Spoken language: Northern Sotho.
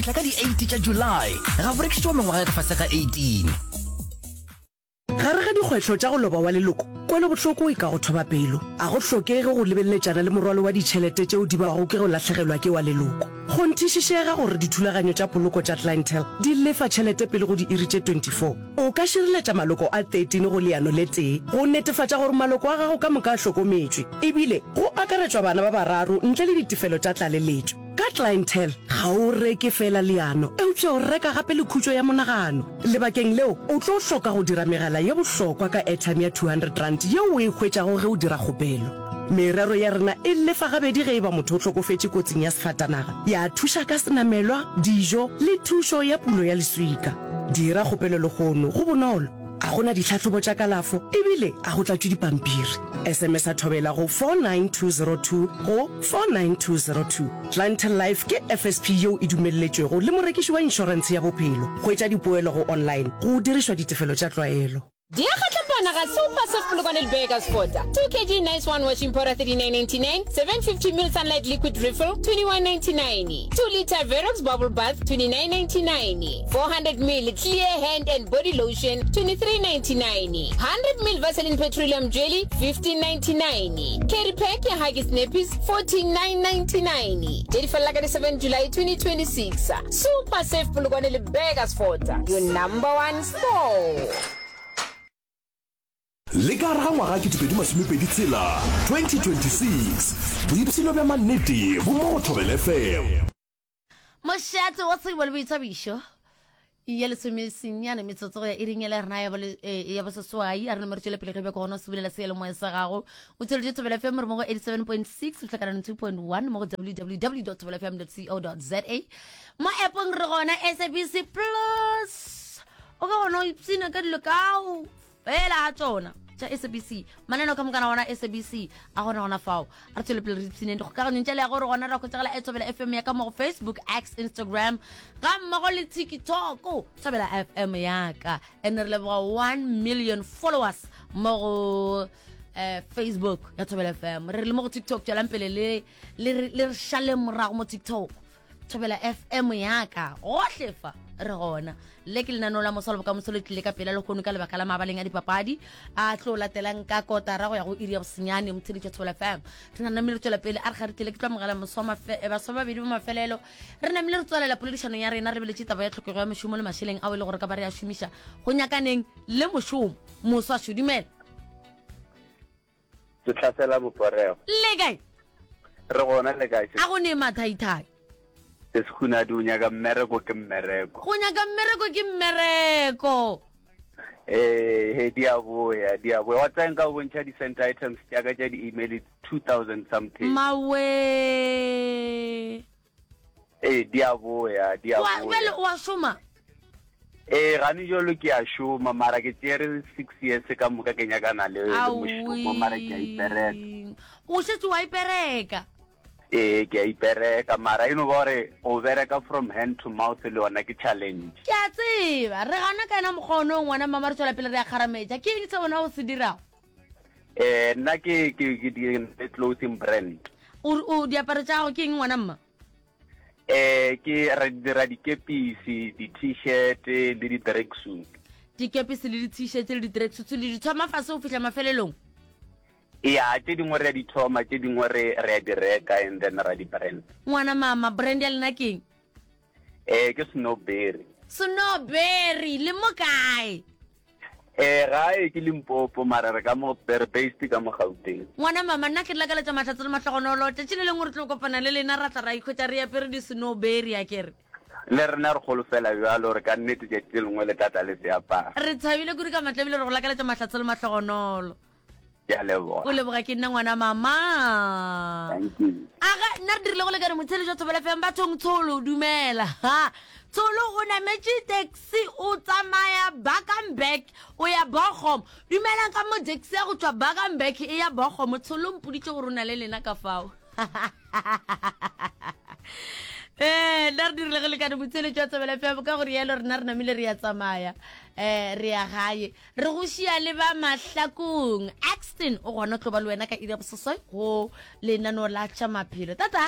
Tla ka di 8 tša July, ga go rekišetšwa mengwaga ya ka fase ga 18. Gare ga dikgwetlho tša go loba wa leloko, kwelobohloko e ka go thoba pelo. A go hlokege go lebeleletšana le morwalo wa ditšhelete tšeo di bago ke go lahlegelwa ke wa leloko. Kgonthišišega gore dithulaganyo tša poloko tša Clientele di lefa tšhelete pele go diiri tše 24. O ka šireletša maloko a 13 go leano le tee go netefatša gore maloko a gago ka moka a hlokometšwe, ebile go akaretšwa bana ba bararo ntle le ditefelo tša tlaleletšo. Ka Clientele, ga o reke feela leano, eupša o reka gape le khutšo ya monagano. Lebakeng leo, o tlo hloka go dira megala ye bohlokwa ka airtime ya R200 yeo o e hwetšago ge o dira kgopelo. Merero ya rena e lefa gabedi ge e ba motho o hlokofetše kotsing ya sefatanaga, ya thuša ka senamelwa, dijo le thušo ya pulo ya leswika. Dira kgopelo lehono, go bonolo, ga go na ditlhahlobo tša kalafo ebile ga go tlatšwe dipampiri. SMS-a Thobela go 49202 go 49202. Clientele Life ke FSP yeo e dumelletšwego le morekiši wa inšorentshe ya bophelo. Hwetša dipoelo go online go dirišwa ditefelo tša tlwaelo. Di a kgatlampana ga Super Surf Polokwane le Burgersfort. 2 kg Nice One Washing Powder 39.99, 750 ml Sunlight Liquid Refill 21.99, 2 litre Verox Bubble Bath 29.99, 400 ml Clear Hand and Body Lotion 23.99, 100 ml Vaseline Petroleum Jelly 15.99, Carry Pack ya Huggies Nappies 49.99. Tše di felela ka di 7 July 2026. Super Save Polokwane le Burgersfort, your number one store. Le ka gare ga ngwaga 2026, 2026, boipshino bja mannete bo mo go Thobela FM. Mošate wa tsebo le boithabišo ya lesomesenyane metsotso go ya iring ya rena ya eh, boseswai a re nomere tšwele pele ge bjako gona o se bulela seyalemoya sa gago o tsweletše thobela fm re mo go 87.6 tlhakanano 2.1 mo go www thobela fm co za mo appong re gona sabc plus o ka gona o ipsina ka dilo kao fela ga tsona tša sabc mananeo ka mokana gona sabc a gona gona fao a re tswele pele re ipshineng dikgokaganyong tša leago re gona ra hwetšagala e thobela fm ya ka mo go facebook x instagram ga mmogo le tiktok thobela fm yaka and re leboga 1 million followers mo go eh, facebook ya thobela fm re le mo go tiktok tswelang pele le le re šaleng morago mo tiktok Thobela FM yaka gohle fa re gona. Le ke lenaneo la moswa le bokamoso le tlile ka pela lehono ka lebaka la mabaleng a dipapadi a tlo latelang ka kotara go ya go iri ya bosenyane motheletši wa Thobela FM. Re na namile re tswela pele a re ga re tlile ke tlo amogela moswa mafe- eh, baswa ba babedi ba mafelelo re namile re tswalela poledišanong ya rena re beletše taba ya tlhokego ya mešomo le mašeleng ao e le gore ka ba re a šomiša go nyakaneng le mošomo. Moswa šo dumela. Se hlasela boporego. Le kae? Re gona le kae? A go ne mathaithai. Se sekhunadi o nyaka mmereko ke mmereko. Go nyaka mmereko ke mmereko. Eh, he di a boya, di a boya. Wa tsaya nka o bontšha di-sent items tša ka tša di-email 2000 something. Mawe. Ee, di a boya, di a Wa, boya. bjale o a šoma? Ee, gane jalo ke a šoma, mara ke tšere six years ka moka ke nyakana le, le mošomo, mara ke a ipereka. Aowi. O šetše wa ipereka? Ee, ke a ipereka, mara e no ba gore go bereka from hand to mouth le yona ke challenge. Ke a tseba, re gana ka yena mokgwa ono ngwana mama re tšwela pele re a kgarametša. Ke eng se wena o se dirago? Eh, nna ke ke ke di le clothing brand. O o diaparo tša gago ke eng ngwana mma? Eh, ke re dira dikepisi, di-t-shirt le di-tracksuit. Dikepisi le di-t-shirt le di-tracksuit le di thoma fase go fihla mafelelong? Ya, tše dingwe re a di thoma, tše dingwe re re a di reka and then ra di brand. Ngwana mama, brand ya lena ke eng? Eh, ke Snowberry. Snowberry, le mo kae? Eh, gae ke Limpopo, mara re ka mo, re based ka mo Gauteng. Ngwana mama, nna ke le lakaletša mahlatse le mahlogonolo. Tšatši le lengwe re tlo kopana le lena ra tla ra ikhwetša re apere di-snowberry, a ke re. Le rena re kgolofela bjalo gore ka nnete tšatši le lengwe le tla tla le se apara. Re thabile kudu ka matla ebile re go lakaletša mahlatse le mahlogonolo. Ke a leboga. O leboga ke nna ngwana mama. Thank you. Aga nna re dirile go lekane motheletši wa Thobela FM bathong Tsholo dumela. Ha. Tsholo o nametše taxi o tsamaya Bakenberg o ya Bochum. Dumelang ka mo taxi ya go tšwa Bakenberg e ya Bochum. Tsholo mpoditše gore o na le lena ka fao. Eh, nna re dirile go lekane motheletši wa Thobela FM ka gore yalo rena re namile re ya tsamaya. Eh, re ya gae. Re go šia le ba Mahlakong. Axton o gona tlo ba le wena ka iri ya boseswai go lenaneo la tša maphelo. Tata!